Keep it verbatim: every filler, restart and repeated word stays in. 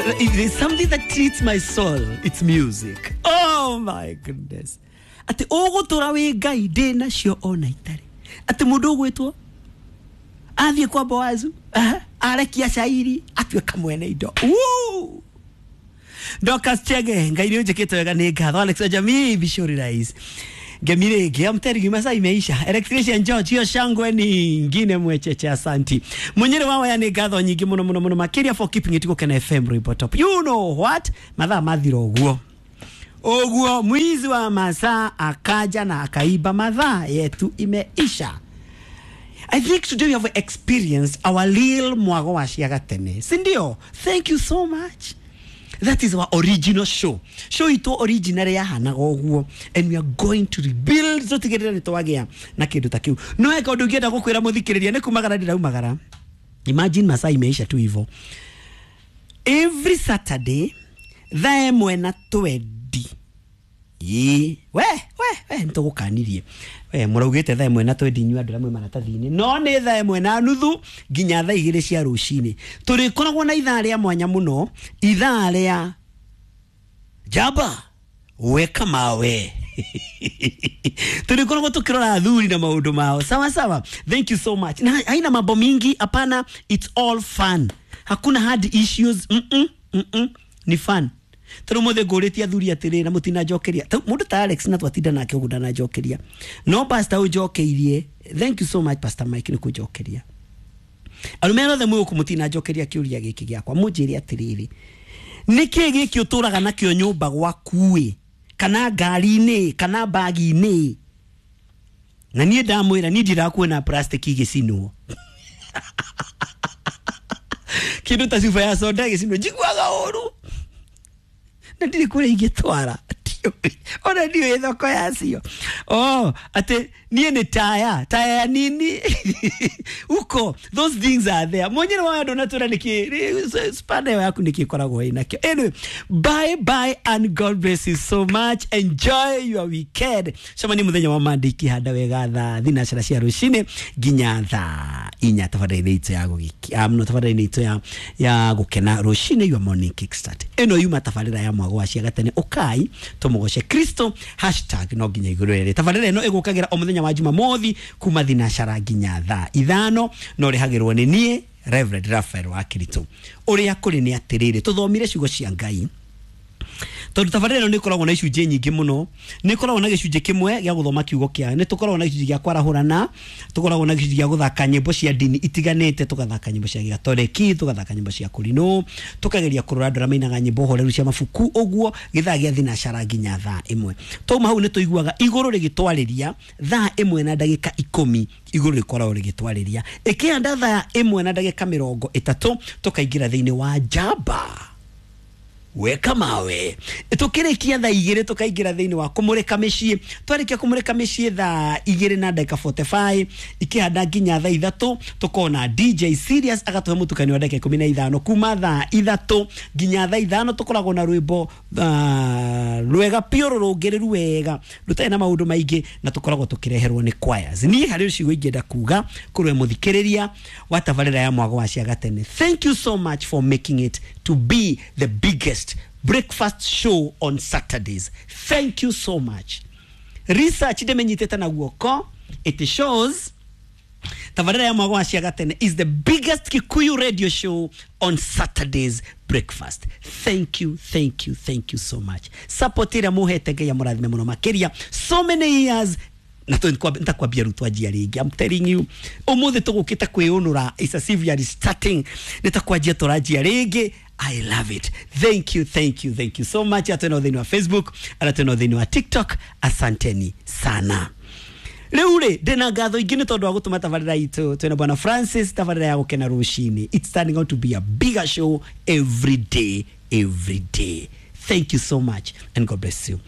If there's something that treats my soul, it's music. Oh my goodness. Ati ũgũtũra wĩ Ngai ndĩ nacio ona itarĩ. Atĩ mũndũ ũgwĩtwo athiĩ kwa Boazu, arekia cairi, atuĩka mwene indo. Woo! Dorcas Chege, Ngai nĩ ũnjĩkĩte wega nĩ ngatho. Alex wa Jamii, Bishori Rais. Ngemi rĩngĩ, I'm telling you, masaa imeisha. Electrician George, hiyo shangwe ni ingine mwecheche, asanti. Munyere wa waya nĩ ngatho nyingĩ mũno mũno mũno makĩria for keeping it Gũkena F M Rwĩmbo Top. You know what? Mathaa mathira ũguo. Ũguo mwizi wa masaa akaja na akaiba mathaa yetu imeisha. I think today we have experienced our real mwago wa ciagatene. Si ndio? Thank you so much. That is our original show. Show ito original yahanaga ũguo, and we are going to rebuild so tigĩrĩra nĩ twagĩa na kĩndũ ta kĩu. No he kaũndũ ũngĩenda gũkwĩra mũthikĩrĩria nĩ kumagara ndĩraumagara. Imagine masaa imeisha tu hivyo. Every Saturday thaa ĩmwe na twendi. Ĩĩ, we we we nĩtũgũkanirie. We mũraugĩte thaa ĩmwe na twendi inyuĩ andũ arĩa mwĩ maratathi-inĩ. No nĩ thaa ĩmwe na nuthu nginya thaa igĩrĩ cia rũcinĩ. Tũrĩkoragwo na ithaa rĩa mwanya mũno, ithaa rĩa njamba weka mawe. Tũrĩkoragwo tũkĩrora athuri na maũndũ mao. Sawa sawa. Thank you so much. Na haina mambo mingi, hapana, it's all fun. Hakuna hard issues. Mm -mm, mm -mm. Ni fun. Tondũ mũthĩ ngũrĩtie athuri atĩrĩ na mũtinanjokeria. Mũndũ ta Alex na twatinda nake ũguo ndananjokeria. No pastor ũnjokeirie. Thank you so much Pastor Mike nĩ kũnjokeria. Arũme othe mwĩ gũkũ mũtinanjokeria kĩũria gĩkĩ gĩakwa. Mũnjĩre atĩrĩrĩ, nĩkĩ gĩkĩ ũtũraga nakĩo nyũmba gwaku-ĩ, kana ngari-inĩ, kana bagi-inĩ? Na niĩ ndamwĩra niĩ ndirakuona plastic igĩcinwo. Kĩndũ ta cuba ya soda ĩgĩcinwo njiguaga ũru. Na ndirĩ kũrĩa ingĩtwara. Ona ndiũĩ thoko yacio. Oh, atĩ niĩ nĩ taya, taya ya nini? Uko, those things are there. Mwenyewe wa andũ natwĩra nĩkĩ, spanner yaku nĩkĩ ĩkoragwo ĩnakĩo. Anyway, bye bye and God bless you so much. Enjoy your weekend. Cemania mũthenya wa Monday ikĩhanda wega thaa thinacara cia rũcinĩ nginya thaa inya tabarĩra-inĩ itũ ya gũgĩkia, no tabarĩra-inĩ itũ ya, ya gũkena rũcinĩ, your morning kickstart. Ĩno yuma tabarĩra ya mwago wa ciagatene. Ũkai tũmũgoce Kristo hashtag no nginya igũrũ rĩrĩ. Tabarĩra ĩno ĩgũkagĩra o mũthenya wa Jumamothi kuma thinacara nginya thaa ithano, no rĩhagĩrwo nĩ niĩ Reverend Raphael wa Kirito. Ũrĩa kũrĩ nĩ atĩrĩrĩ, tũthomire ciugo cia Ngai. Tondũ tabarĩra ĩno nĩ ĩkoragwo na icunjĩ nyingĩ mũno. Nĩ ĩkoragwo na gĩcunjĩ kĩmwe gĩa gũthoma kiugo kĩa, nĩ tũkoragwo na gĩcunjĩ gĩa kwarahũrana, tũkoragwo na gĩcunjĩ gĩa gũthaka nyĩmbo cia ndini itiganĩte, tũgathaka nyĩmbo cia gĩgatoreki, tũgathaka nyĩmbo cia kũrinũ, tũkageria kũrora andũ arĩa mainaga nyĩmbo horeru cia mabuku, ũguo gĩthaa gĩa thinacara nginya thaa ĩmwe. Twauma hau nĩ tũiguaga igũrũ rĩgĩtwarĩria thaa ĩmwe na ndagĩka ikũmi, igũrũ rĩkoragwo rĩgĩtwarĩria. Ĩkĩhanda thaa ĩmwe na ndagĩka mĩrongo ĩtatũ, tũkaingĩra thĩinĩ wa njamba weka mawe. Tukĩrĩkia thaa igĩrĩ tũkaingĩra thĩinĩ wa kũmũrĩka mĩciĩ. Twarĩkia kũmũrĩka mĩciĩ thaa igĩrĩ na ndagĩka forty-five, ikĩhanda nginya thaa ithatũ, tũkona D J Serious agatũhe mũtukanio wa ndagĩka ikũmi na ithano. Kuma thaa ithatũ nginya thaa ithano tũkoragwo na rwĩmbo, uh, rwega biũ rũrũngĩrĩru wega rũtarĩ na maũndũ maingĩ, na tũkoragwo tũkĩreherwo nĩ choirs. Niĩ harĩ ciugo ingĩenda kuga kũrĩ mũthikĩrĩria wa tabarĩra ya mwago wa ciagatene. Thank you so much for making it to be the biggest breakfast show on Saturdays. Thank you so much. Research ndemenyitĩte na guoko, it shows tabarĩra ya mwago wa ciagatene is the biggest Kikuyu radio show on Saturdays breakfast. Thank you, thank you, thank you so much. Support ĩrĩa mũhete Ngai amũrathime mũno makĩria. So many years na nitakwambia rĩu twanjia rĩngĩ. I'm telling you, ũmũthĩ tũgũkĩte kwĩũnũra, it's as if we are starting. Nĩtakwanjia tũranjia rĩngĩ. I love it. Thank you, thank you, thank you so much. Atwena thĩinĩ wa Facebook, atwena thĩinĩ wa TikTok. Asanteni sana. Rĩu rĩ, ndĩna ngatho ingĩ nĩ tondũ wa gũtũma tabarĩra itũ. Twĩna Bwana Francis, tabarĩra ya gũkena rũcinĩ. It's turning out to be a bigger show every day, every day. Thank you so much and God bless you.